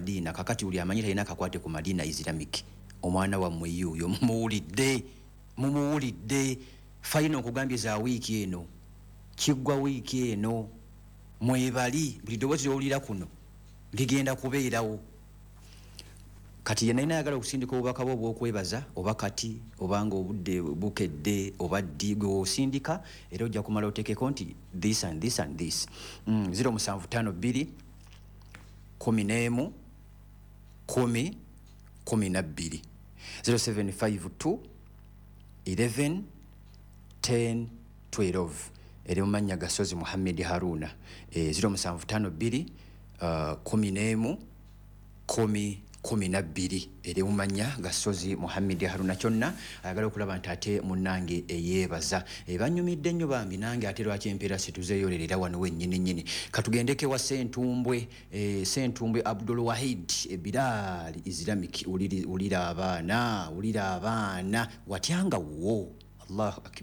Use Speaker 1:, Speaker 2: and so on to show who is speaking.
Speaker 1: Madiina. Kakati buli amanyi talina kakwate ku Madiina Islamic, omwana wammwe yuuyo, mumuwulidde, mumuwulidde. Final nkugambye za wiiki eno, kiggwa wiiki eno, mwebali buli ddoboozi lyowulira kuno ligenda kubeerawo. Kati yenna ayagala okusindika obubaka bwe obw'okwebaza, oba kati obanga obudde bukedde oba ddi, gwe wosindika era ojja kumala oteekeko nti this and this and this. 0752 11 10 12, 0752 11 10 12, eri mu mannya ga Sozi Muhammed Haruna. 0752 11 10 12, eri mu mannya ga Sozi Muhammed Haruna. Kyonna ayagala okulaba nti ate munnange eyeebaza, banyumidde nnyo bambi. Nange ate lwaki empeera situzeeyolerera wano wennyini nnyini? Katugendeko ewa Sentumbwe, Sentumbwe Abdul Wahid, Ebiraali Islamic. Wulira abaana, wulira abaana, watyanga wo. Allahu akbar.